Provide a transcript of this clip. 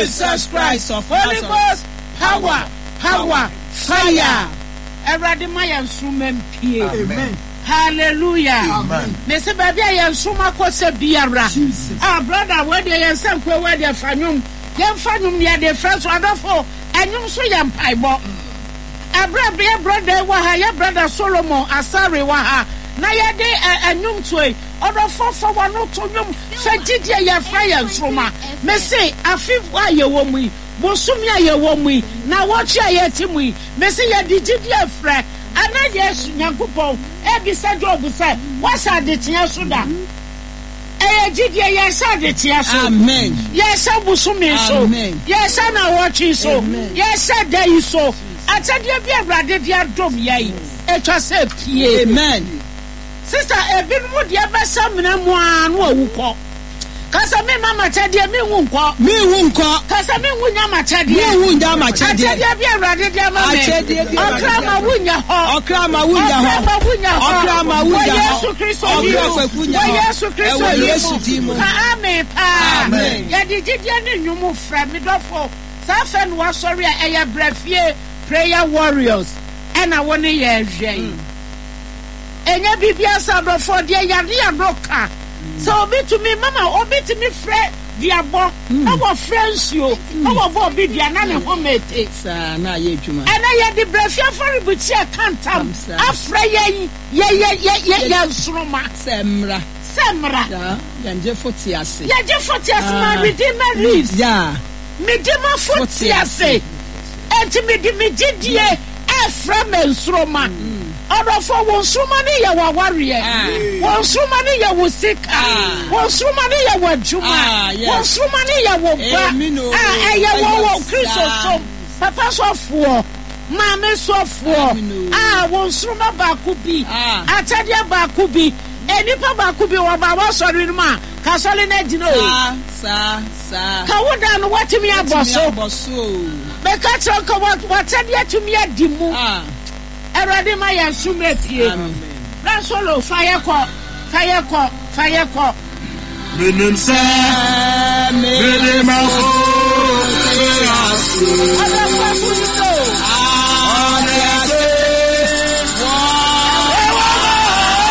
Jesus Christ of Holy Nazareth. Ghost power, power, fire. Awurade ma yɛn nsoromma mpue. Amen. Hallelujah. Amen. Mese baabi a yɛn nsoromma kɔ sɛ biara. Jesus. Ah, brother, wei deɛ yɛn nsa nkoe, wei deɛ fa nnwom. Yɛmfa nnwom ne yɛde frɛ so. Adɔfo, ɛnwom nso yɛ mpaebɔ. Ɛberɛ a yɛ brother yi wɔ ha, yɛ brother Solomon Asare wɔ ha, na yɛde ɛ, ɛnwom toe. Ɔdɔfo, fa w'ano to nnwom, fa gyidie yɛfrɛ yɛn nsoromma. Mese afe a yɛwɔ mu yi, bosome a yɛwɔ mu yi, nnawɔtwe a yɛte mu yi, mese yɛde gyidie frɛ. Ana Yesu, Nyankopɔn, rebisa Job sɛ, Woahyɛ adekyeɛ so da? Ɛyɛ gyidie, yɛhyɛ adekyeɛ so. Amen. Yɛhyɛ bosome so. Amen. Yɛhyɛ nnawɔtwe so. Amen. Yɛhyɛ da yi so. Akyɛdeɛ bi a Awurade de adom yɛn, ɛtwa sɛ ɛpue. Amen. Sister, ebinom deɛ bɛhyɛ amena mu ara na wɔawu kɔ. Ka sɛ, Memma m'akyɛdeɛ, menwu nkɔ. Menwu nkɔ. Ka sɛ, Menwu nnya m'akyɛdeɛ. Menwu nnya m'akyɛdeɛ. Akyɛdeɛ bi a Awurade de ama me. Akyɛdeɛ bi a Awurade Ɔkra de ma ama me. wunya hɔ. Ɔkra ma wunya hɔ. Ɔkra ma wunya hɔ. Ɔkra ma wunya Wɔ hɔ. Yesu Kristo din Ɔkra mu. kwaku nya Wɔ hɔ. Yesu Kristo Ɛwɔ din Yesu mu. din mu. Ka amen paa. Amen. Yɛde gyidie ne nnwom frɛ me dɔfo. Saa afɛ no wasɔre a ɛyɛ brɛ fie prayer warriors ɛna wo ne yɛn hwɛ yi. Ɛnyɛ biribiara sɛ adɔfoɔ deɛ yare a no ka sɛ obi tumi mama obi tumi frɛ duabɔ na wɔfrɛ nsuo na wɔbɔ obi dua na ne ho mete. Saa na ayɛ adwuma. Ɛnɛ yɛde brɛfie afɔrebukyia ka ntam afrɛ yɛn yɛ yɛ yɛ yɛ yɛn nsoroma. Sɛ mmra. Sɛ mmra. Saa yɛn gyefo te ase. Yɛn gyefo te ase my redeemer lives. Yeah. Me dimafo te ase. Enti mede me gyedie refrɛ me nsoromma. Ɔdɔfoɔ, wo nsoromma no yɛ w'awareɛ. Wo nsoromma no yɛ wo sika. Wo nsoromma no yɛ w'adwuma. Wo nsoromma no yɛ wo ba a ɛyɛ wɔ wɔ Kristosom. Papa sɔfoɔ, maame sɔfoɔ, a wo nsoromma baako bi, akyɛdeɛ baako bi, nnipa baako bi wɔba w'asɔre no mu a, ka asɔre no agyina o. Ka wo da no woatumi abɔ so. Meka kyerɛ wo ka w'akyɛdeɛ atumi adi mu. Awurade ma yɛn som apue. Bra solo fa yɛ kɔ, fa yɛ kɔ, fa yɛ kɔ. Menim sɛ mede m'afo te ase.